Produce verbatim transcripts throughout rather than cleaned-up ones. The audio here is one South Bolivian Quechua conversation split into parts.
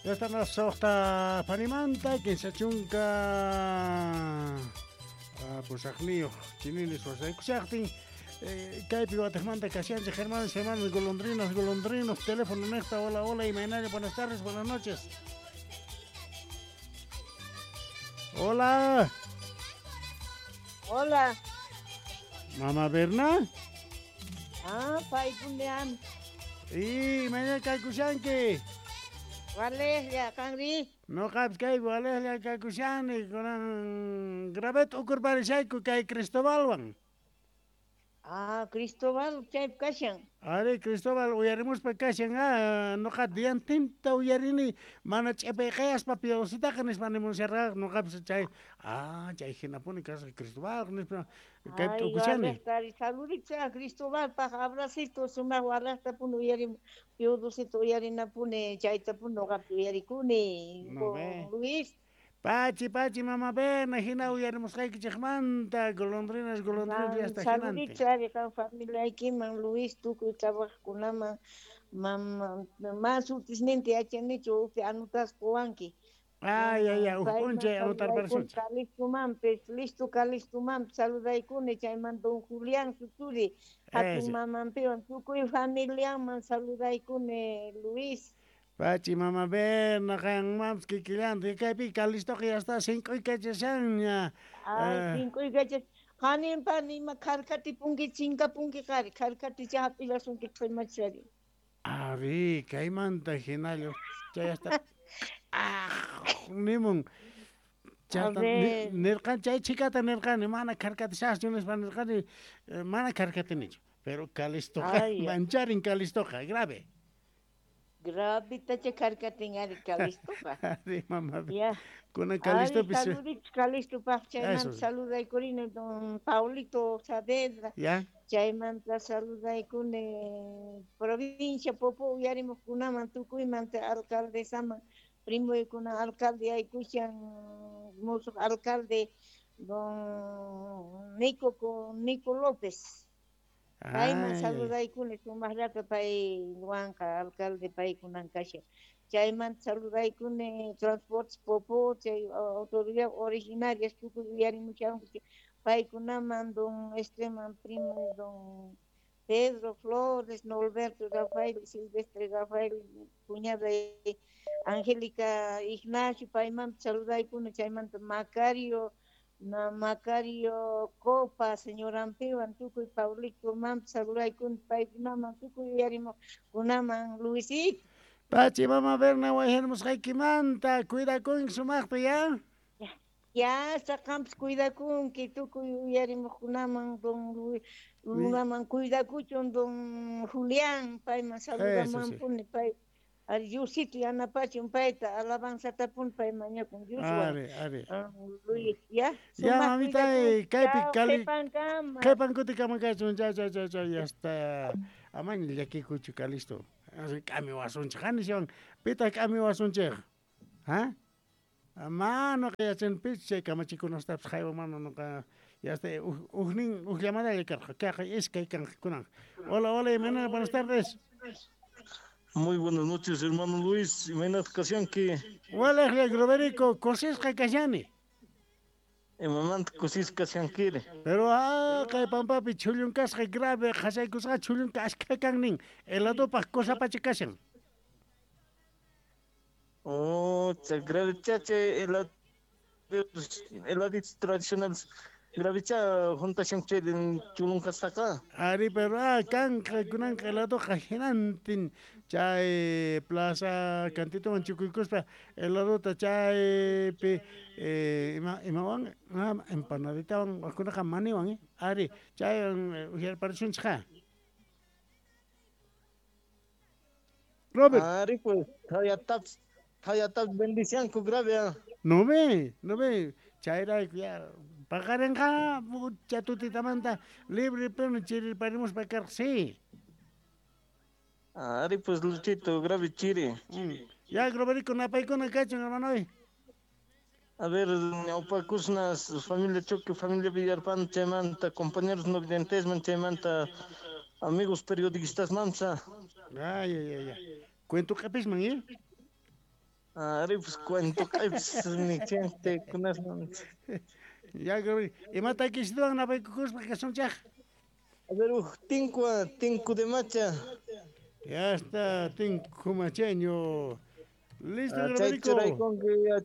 Ya están las soqta panimanta, kinsa chunka pusaqniyuq chininis wasaykushaqtin. Kaypi watejmanta kashanchik, hermanos, hermanos, golondrinas, golondrinos, teléfono nesta, hola, hola, imaynalla, buenas tardes, buenas noches. Hola. Hola. Mamá Berna. Ah, paykunean. Y mañana kaykushanki. Walejlla, qanri. Noqapis kaypi walejlla kaykushani, kunan gravet ukurparishayku kay Cristobalwan. Ah, Cristóbal chaypi kashan. Ari, Cristóbal uyarimuspa kashan, ah, noqa diantinta uyarini, mana ch'ipayqayaspa piodositaqa nispa nimusharqa, noqapis chay, ah, chay hinapuni kasqa Cristóbal nispa kaypi t'ukushani. Ay, saludito a Cristóbalpaq, abracito, sumaq walejtapuni uyarim, piodosita uyarinapuni, chaytapuni noqapis uyarikuni, No ve. Luis. Pachi, pachi, mamá Berna, hina uyarimusqaykichikmanta, golondrinas, golondrinas, hasta Saludito ari qan familiaykiman, Luis, tukuy trabajaqkunaman, mama, ma sutisninta yachanichu, upi anotaspa qowanki. Ay, ay, ay, uj p'unchay anotarparisunchik. Calistomanpis, listo Calistomanpis saludaykuni, chaymanta don Julián suturi, hatun mamanpiwan, tukuy familiaman saludaykuni, Luis. Pachi, mamá Berna, qanmanpis kikillanta, kaypi Calistoqa ya está sink'uykachashanña. Ay, sink'uykachas, qaninpa nima kharkatipunki, chinkapunki qari, kharkaticha hap'illasunki qhimachari. Ari, kaymanta hinalla, chay hasta ah, nimun. Chayta nirqani, chay chikata nirqani, mana kharkatishaschu nispa nirqani, mana kharkatinichu, pero Calistoqa, mancharin Calistoqa, grave. Gravitacha kharkatin ari Calistoqa. Ari, mamá. Ya. Kunan Calistopis. Ari, saludito Calistopaq, chaymanta saludaykurini don Paulito Saavedra. Ya. Chaymanta saludaykuni provincia Popo uyarimuqkunaman, tukuymanta alcaldesaman, primoykuna alcalde aykushan, musuq alcalde don Nico, Nico López. Payman saludaykuni sumaqllata paywanqa alcalde paykunan kashan. Chaymanta saludaykuni Transportes Popo, chay autoridad originarias tukuy uyarimushanku paykunaman, don Esteban primo, don Pedro Flores, Norberto Rafael, Silvestre Rafael, cuñada Angélica Ignacio, payman saludaykuni, chaymanta Macario, na Macario Copa, señor Ampiwan, tukuy Paulito mam saludaykuni paykunaman, tukuy uyarimuqkunaman, Luisito. Pachi, mamá Berna, wayharmusqaykimanta, cuidakunki sumaqta, ya? Ya, hasta qampis cuidakunki, tukuy uyarimuqkunaman, don Luis, lunaman cuidakuchun, don Julián, payman saludamanpuni, pay, ari Diosito yanapachun payta, alabanzatapuni pay mañakun Dioswan. Ari, ari. Luis, ya? Ya, mamita, kaypi Cali, qhipankama. Qhipankutikaman kachun, ya, ya, ya, ya, ya está. Amaña llakikuchu, Calisto. K'amiwasunchik, qaniswan, pitaq k'amiwasunchik? ¿Ah? Mano yachanpis chay kamachikunastapis haywan mano noqa ya está ujnin uj llamadalla karqa, kayqa iskay kanqa kunan. Hola, hola, Imaynalla, buenas tardes. Muy buenas noches, hermano Luis. Imaynataq kashanki? Walejlla, Groverico, kusisqa kashani. Imamanta kusisqa kashankiri? Pero ah, kay pampapi chhullunkasqa grave, qhasaykusqa chhullunka ashkha kannin, heladopaq kusapacha kashan. Oh, chay grave chay helado, heladitos tradicionales. Gravecha juntashan chay chulunkasqaqa. Ari, pero ah, kanqa kunanqa heladoqa hinantin chay plaza cantitoman chukuykuspa heladota chaypi eh, ima imawan ah, empanaditawan wakunaqa maniwan eh. Ari, chaywan uhyarparisunchikqa. Robert. Ari, pues, hayataps, hayataps bendicianku grave. Ah. No ve, no ve, chayrayku ya paqarinqa chatutitamanta libre pero chirirparimuspa karqa, sí. Ari, pues, Luchito, grave chiri. Mm. Ya, Groverico, napaykuna kachun, hermano. A ver, ñawpakusnas, familia Choque, familia Villarpan, chaymanta, compañeros no videntes, chaymanta, amigos periodistas, mamsa. Ay, ay, ay, ay. Cuento q'episman, ¿eh? Ari pues cuento kaypis ni kunasman. Ya imata kishtuwan napaykukuspa kasunchaq. A ver, uj tinkua, tinku de macha. Ya está, tinku macheño. Listo, Graverico.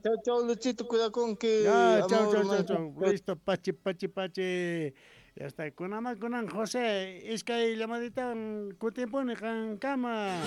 Chau, chau, Luchito, cuidaconki. Ya, chau, chau, chau, chau. Listo, pachi, pachi, pachi. Ya está, kunama kunan José, iskay llamadita kutimpuni qankama.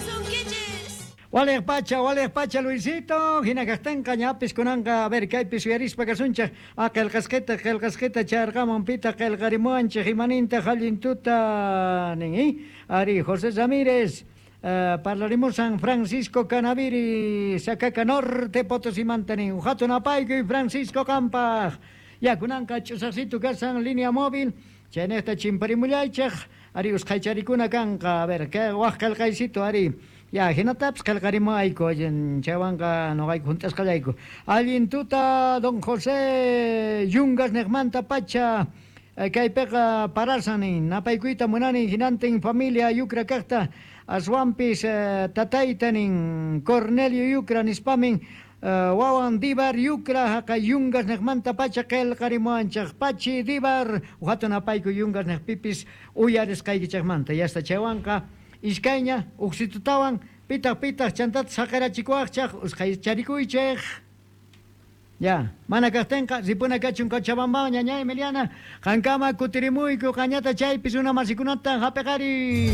Walej pacha, walej pacha, Luisito, hina kaqtinqa ñapis kunanqa, a ver, kaypis uyarispa kasunchaq, a qillqasqita, qillqasqita charqamun pita qillqarimuwanchik, imaninta hallintuta nin, eh? Ari, José Ramírez, uh, parlarimus San Francisco Canaviri, Sacaca Norte, Potosí mantanin, hatun apaykuy Francisco qampaq. Ya kunanqa ch'usaqsitu kasan línea móvil, chaynejta chimparimullaychaq, ari usqhaycharikuna kanqa, a ver, kay waq qillqaysito, ari. Ya, hinatapis qillqarimuayku, chaywanqa noqayku junt'asqallayku. Allin tuta, don José Yungas niqmanta pacha, kaypiqa parasan nin, napaykuyta munani hinantin familia Yucra kaqta, aswanpis tatayta nin, Cornelio Yucra nispamin, wawan Divar Yucra haqa Yungas niqmanta pacha qillqarimuwanchaq, pachi Divar, hatun apayku Yungas niqpipis uyarisqaykichaqmanta, yasta chaywanqa iskayña uqsitutawan pitaq pitaq chantata saqirachikuwaqchaq usqhaycharikuychik. Ya, mana kaqtinqa ripuna kachun Cochabamba ñaña Emiliana, qankama kutirimuyku qañata chaypis runa masikunata hapiqari.